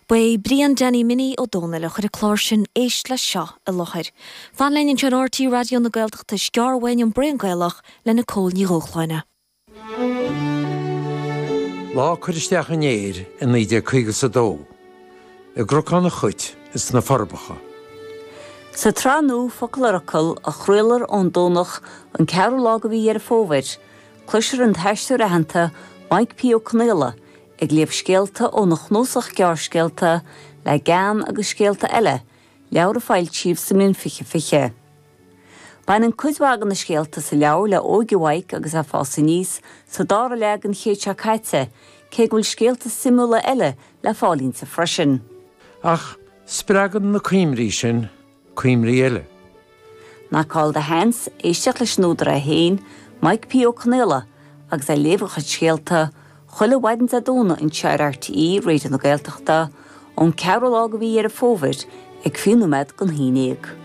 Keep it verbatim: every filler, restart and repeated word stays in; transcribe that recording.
Ba é Brian Danny Minnie Ó Dónaill a chuir an clár sin Éist Leis Seo i láthair. Fan linn anseo ar RTÉ Raidió na Gaeltachta sceár bhain an Braon Gaelach le Nicole Ní Dhúshláine. Lá cur isteach in éir in naoi déag caoga is a dó, i gCnocán an Chait is na Forbacha. Sa tsraith nua Focal ar Fhocal a chraolfar ón Domhnach an ceathrú lá de mhí Dheireadh Fómhair, cloisfear an t-aisteoir aitheanta Mike P. Ó Conaola ag léamh scéalta óna chnuasach gearrscéalta Le Gean agus Scéalta Eile, leabhar a foilsíodh sa mbliain fiche fiche. Baineann cuid mhaith de na scéalta sa leabhar le óige Mhaidhc agus é ag fás aníos sa dara leath den chéad seo caite, cé go bhfuil scéalta suimiúla eile le fáil inti freisin. Ach spreagann na cuimhní sin cuimhní eile. Knock the Hands, éisteacht leis an údar é féin, Mike P. Ó Conaola, agus é ag léamh a chuid scéalta, chuile mhaidin Dé Domhnaigh anseo ar RTÉ Raidió na Gaeltachta, ón ceathrú lá de mhí Dheireadh Fómhair ag fiche nóiméad don haon déag.